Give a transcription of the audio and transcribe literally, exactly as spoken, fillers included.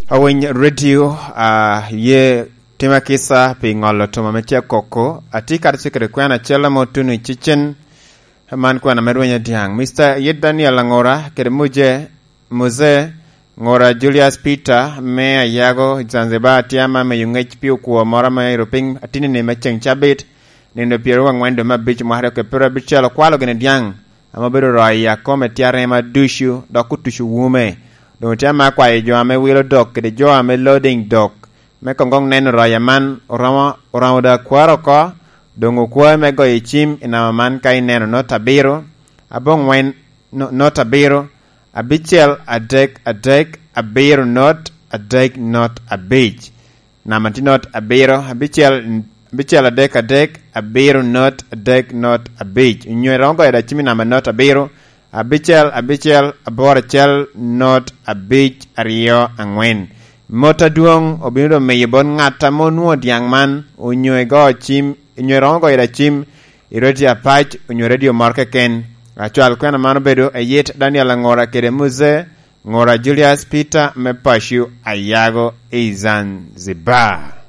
Awiny radio, a ye tima kisa pi ŋolo tuma me tye koko. Atye kadi cikere kwena acel amo tuno i cicen. Man kwena me rweny adiaŋ. Mister Yet Daniel Angora kede Muje, Mose Ngora Julius Peter me Ayago i Zanzibar tye ama meyo ŋec pi okwo moro ame ero piny atinini me ceŋ cabit, nino pyeraryo angwen dwe me abic mwaka aryo kede pyeraryo abicel okwalo gini dyaŋ ame obedo royo i akome tye arema ducu dok otuco wume. Doŋ tye ama akwayo jo ame wilo dok kede jo ame loading dok me koŋ koŋ neno roya man oromo, oromo da kwaro oko, doŋ okwae me goyo cim i namba man ka ineno not abiro, aboŋwen, no-, not abiro, abicel adek adek abiro not adek not abic. Namba tye not abiro, abicel, abicel adek adek abiro not adek not abic. Onyo iromo goyo da cim i namba not abiro, abicel abicel aboro acel not abic aryo angwen. Mot adwoŋ obino doŋ miyo bot ŋat ame onwoŋo dyaŋ man, onyo igo cim, onyo iromo goyo da cim i radio apac, onyo radio moro keken. Acwal kwena man obedo Ayet Daniel Angora kede Mose Ngora Julius Peter me paco Ayago i Zanzibar.